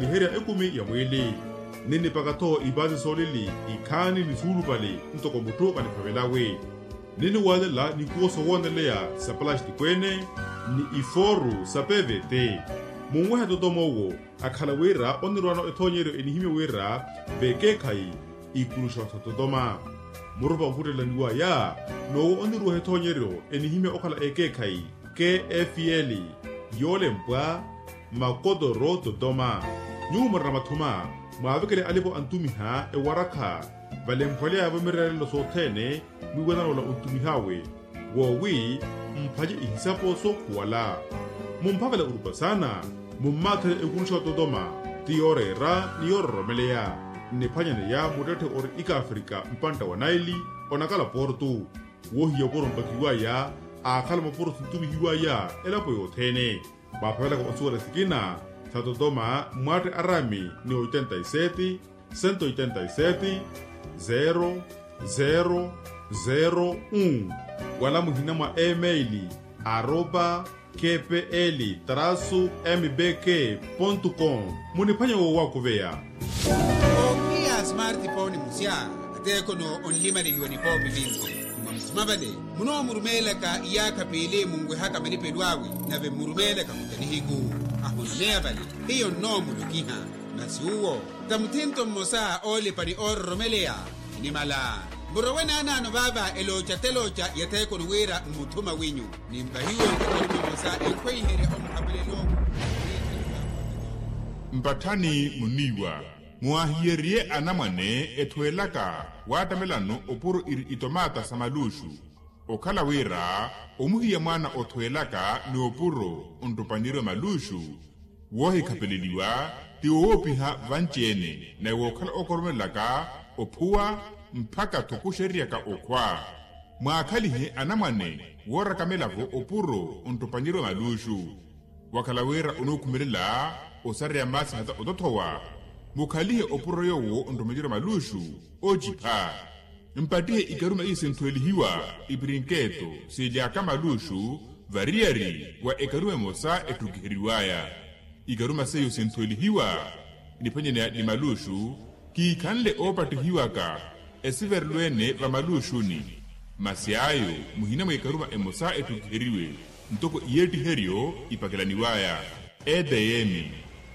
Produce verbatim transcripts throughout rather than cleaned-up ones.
Niherya ekumi ya mwiili. Ninnipaka-tho ipaasi soolili ikhaani ni suulupali ntoko mutthu kaniphavelawe. Ninniwaalela nikuwo sowooneleya sa palastiko-ene ni ifooru sa pevete. Munwehe totoma owo akhala wira onirwaano ethoonyeryo enihimya wira vekeekhayi ikuluxa totoma. Murupa okhuttelaniwaya n'owo oniruweha ethoonyeryo enihimya okhala ekeekhayi, kfl, yoolempwa makotoro totoma. Nyuwo murina mathuma mwaavekele alipo antumiha ewarakha valemphwaleya-vo mireerelo sothene mwiiwanana ola ontumih'awe, woowi mphace ihisapo sookhuwala. Mumphavela orupa saana, mummaathele ekuluxa ototoma ti yooreera ni yoororomeleya. Nniphwanyaneya muttetthe ori ikaafrika mpantta wa naili onakala portu. Woohiya opuro mpakiwaya aakhala mopuro sintumihiwaya elapo yothene. Mwaaphavelaka osuwela sikina sa totoma mwatte arami ni oitenta y sete, sento oitenta y sete, zero zero zero un, wala muhina mwa email aropa kpl trasu mbk pontu com. Muniphwanye woowakuveya. Okiya smartphone musya ateekono onlimaleliwa nipoopi vinci. Mwa musima vale munoomurumeelaka iyaakha piili munwehaka malipelo awe, nave mmurumeelaka muta nihiku ahunumeya vale. Hiyo nnoomulokiha masi uwo ta muthinto mmosa oolipa ni oororomeleya. Nimala murowe naanaano vaava elooca telooca yetheekoni wira mmuthuma winyu nimpahiwe ekorima mmosa ekhweiherye omuhapelelo. Mpatthani muniiwa mwahiyeriye anamwane ethweelaka waatamelano opuro iri itomaata sa maluuxu. Okhala wira omuhiya mwaana othweelaka ni opuro onttupanirwe maluuxu. Woohikhapeleliwa ti woowopiha vanci-ene naye wookhala ookoromelelaka ophuwa mpakha-tho kuxerryaka okhwa. Mwaakhalihe anamwane woorakamelavo opuro onttupanirwe maluuxu. Wakhala wira onookhumelela osareya maasi hata otothowa, mukhalihe opuro yoowo onttupanirwe maluuxu oocipha. Mpattihe ikaruma iyo sinthwelihiwa ipirinketo siilyaka maluuxu variyari wa ekaruma emosa etthukiheriwaya. Ikaruma seiyo sinthwelihiwa niphwanyaneya ni maluuxu kiikhanle oopattihiwaka esiverelo-ene va maluuxuni. Masi ayo muhina mwa ikaruma emosa etthukiheriwe ntoko iyeettiheryo ipakelaniwaya. Edm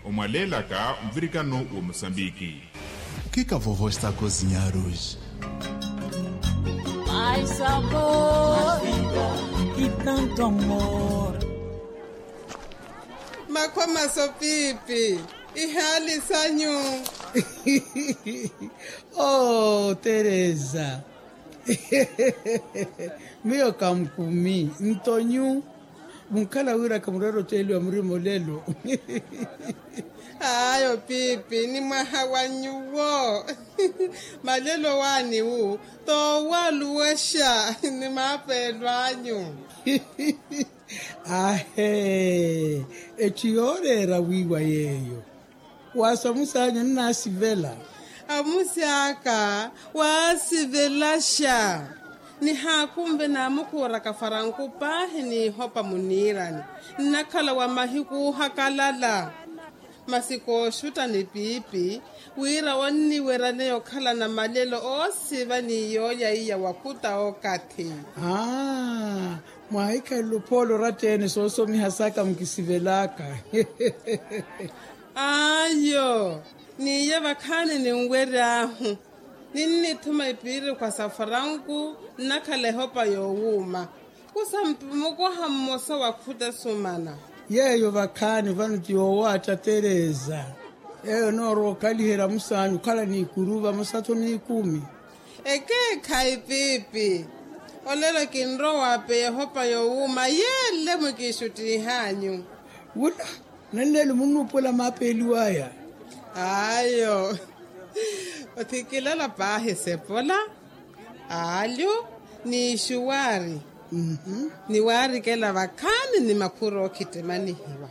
omwaleelaka nvirikano wa mosambiki. Kika vovo está cozinhar hoje? Ai sabor e tanto amor. Makhwa maso piipi ihaali sanyu. Oh teresa. Miyo kankumi ntonyu. Munkhala wira kamureera oceeliwa murima olelo. Ayo piipi ni mwaha wa nyuwo. Malelo waani wu toowaluwexa ni maapeelo anyu. Ahe. Etthu yooreera wiiwa yeeyo. Waasa omusi anyu onnaasivela. Omusi aka waasivelaxa. Nihaakunve naamukuuraka faranku paahi n'ihopa muniirani nnakhala wa mahiku oohakalala. Masi kooxutta ni piipi wira onniweryaneya okhalana malelo oosiva ni yoolya iya wakhuta okathi. Aa. Mwaahikhalela ophoolo oratta-ene soosomiha saka mukisivelaka. Ayo. N'iye vakhaani ninwery'ahu ninnithuma ipiirikhwa sa faranku nnakhala ehopa yoowuuma. Kusa mukoha mmosa wa khuta esumana. Yeeyo vakhaani vano ti yoowaatta teresa. Yeeyo enoorowa okhaliherya musaanyu okhala n'ikuru vamosa-tho n'ikumi. Ekeekhayi piipi. Olelo kinrowa waapeya ehopa yoowuuma yeele mukixuttiih'anyu. Wula. Nanleelo munnuupuwela maapeeliwa aya. Ayo. Othikilala paahi sepola, aalyu, n'ixuwaari. Ni waarikela vakhaani ni makhuru ookhittimanihiwa.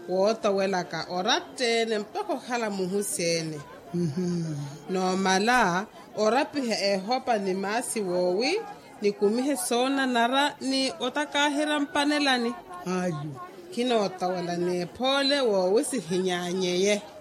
Wootowelaka oratta-ene mpakha okhala muhusi-ene. Noomala orapiha ehopa ni maasi woowi nikumihe soonanara ni otakaaherya mpanelani. Ayu. Khinootowela n'ephoole woowi sihinyaanyeye.